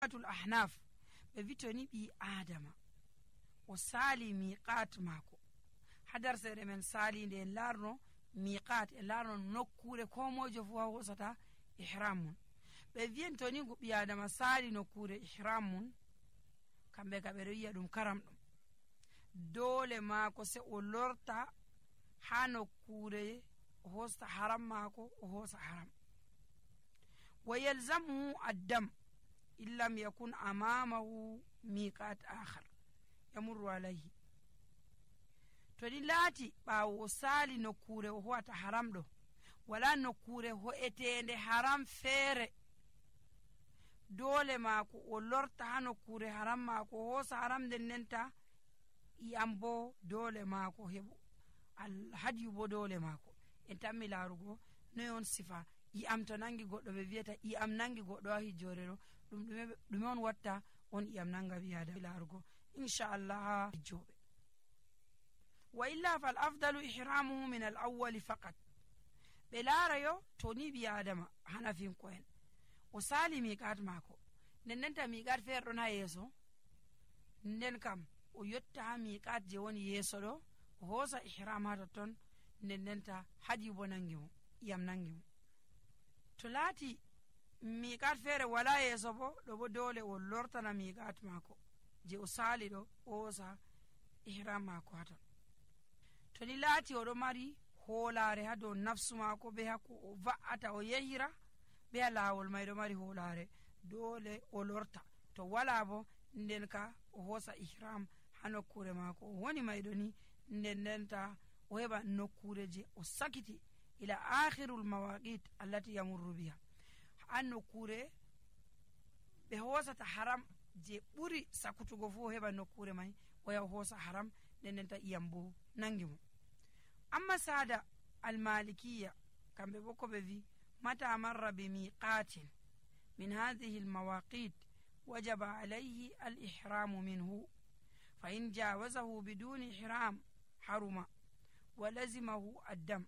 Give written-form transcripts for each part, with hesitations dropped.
atul ahnaf ɓe vitoni ɓi adama o sali miqat maako. hadar seeɗe men salinde en larno miqat, en larno nokkure ko mojo fu ha hosata ihram mun. ɓe viyen to ni ɓi adama sali nokkure ihram mun, kamɓe ka ɓe ɗo yi'a ɗum karam ɗum, dole maako se o lorta ha nokkure o hosta haram maako, o hosa haram. wa yalzamuhu addam illam yakun amamahu miqat akhar yamurru alayhi. to ni laati ɓaawo o sali nokkure o ho'ata haram ɗo wala nokkure ho'etende haram feere, dole maako o lorta ha nokkure haram maako o hosa haram nden nenta iyam bo dole maako heɓo, alhadiyu bo dole maako. en tammi laarugo noy on sifa iyam to nangi goɗɗo. ɓe wiyata iyam nangi goɗɗo ha hijjore ɗo ɗume on watta on iyam nanga biyada laarugo inchallah ha hijjoɓe. wa illa fal afdalu ihramuhu min al awwali faqat. ɓe laara yo to ni ɓi adama hanafinko en o sali miqat maako, nden nenta miqat feere ɗon ha yeeso, nden kam o yotta ha miqat je woni yeeso ɗo o hosa ihram ha totton, nden nenta hadi bo nangi mo, iyam nangi mo. to laati miqat feere wala yeeso bo ɗo bo dole o lortana miqat maako je o sali ɗo o hosa ihram maako ha ton. to ni laati oɗo mari hoolare ha dow nafsu maako be ha ko o va'ata o yehira be ha laawol may ɗo mari hoolare, dole o lorta. to wala bo nden ka o hosa ihram ha nokkure maako o woni mayɗo ni, nden ndenta o heɓa nokkure je o sakiti ila akhirul mawaqit allati yamurru biha, ha nokkure ɓe hosata haram je ɓuri sakutugo fu o heɓa nokkure may o yaha o hosa haram, nden ndenta iyam bo nangi mo. amma sada almalikiya kamɓe bo ko ɓe vi mata marra bi miqatin min hadhihi almawaqit wajaba alayhi alihramu minhu fa in jawazahu biduni ihram haruma wa lazimahu addam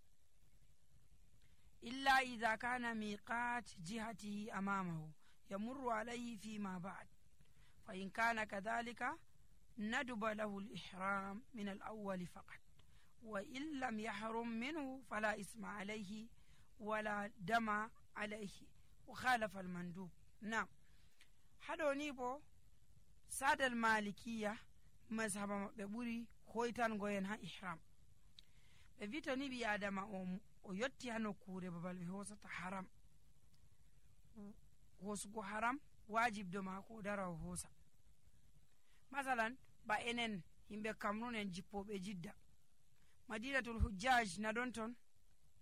illa idha kana miqat jihatihi amamahu yamurru alayhi fima ba'd fa in kana kadhalika naduba lahu alihram min alawwal faqat wa in lam yahrum minhu fala isma alayhi wala dama alayhi wa khalafa almandub. nam haɗo ni bo sadal malikiya mazhaba maɓɓe ɓuri hoytangoyen ha ihram. ɓe wi to ni ɓi adama o yotti ha nokkure babal ɓe hosata haram, hosugo haram wajib do maako o dara o hosa. masalan ba enen himɓe kamnun en jippoɓe jidda madinatul hujjaj na ɗon ton,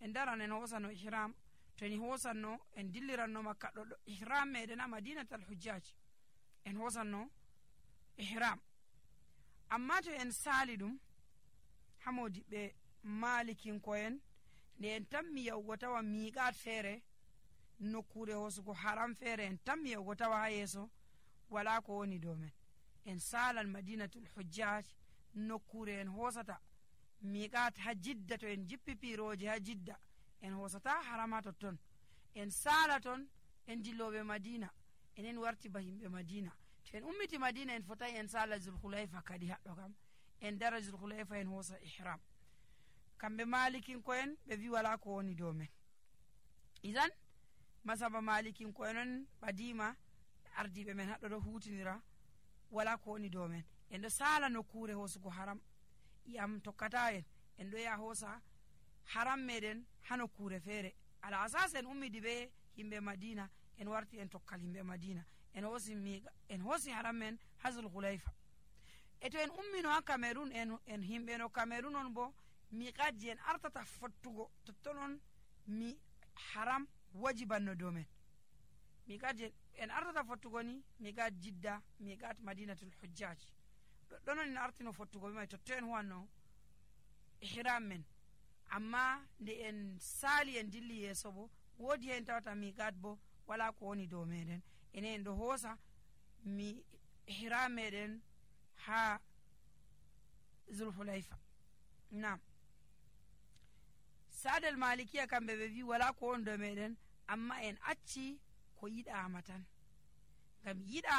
en daran en hosano ihram. to en hosanno en dilliranno makka ɗo ihram meɗen ha madinatul hujjaj en hosanno ihram. amma to en sali ɗum ha modiɓɓe malikinko'en nde en tammi yahugo tawa miqat feere, nokkure hosugo haram feere en tammi yahugo tawa ha yeeso, wala ko woni dow men. en salan madinatul hujjaj nokkure en hosata miqat ha jidda. to en jippi piroje ha jidda en hosata haram ha totton, en sala ton en dilloɓe madina, enen warti ba himɓe madina. to en ummiti madina en fotai en sala zulhulayfa kadi haɗɗo kam en dara zulhulayfa en hosa ihram. kamɓe malikinko'en ɓe wi wala ko woni dow men. idan masaba malikinko'en on ɓadima ardiɓe men haɗɗo ɗo hutinira, wala ko woni dow men. en ɗo sala nokkure hosugo haram, iyam tokkata en, en ɗo yaha hosa haram meɗen ha nokkure feere. ala asas en ummidi be himɓe madina, en warti en tokkal himɓe madina, en hosi haram men ha zulhulayfa. e to en ummino ha cameron en himɓe no cameron on bo miqatji en artata fottugo totton on mi haram wajibanno dow men. miqatji en artata fottugo ni miqat jidda, miqat madinatul hujjaj ɗoɗɗon on en artino fottugo be may totto en huwanno ihram men. amma nde en sali en dilli yeeso bo woodi hen tawata miqat bo wala ko woni dow meɗen, enen en ɗo hosa mi ihram meɗen ha zulhulayfa. nam sadal malikiya kamɓe ɓe wi wala ko woni dow meɗen, amma en acci ko yiɗama tan. ngam yiɗama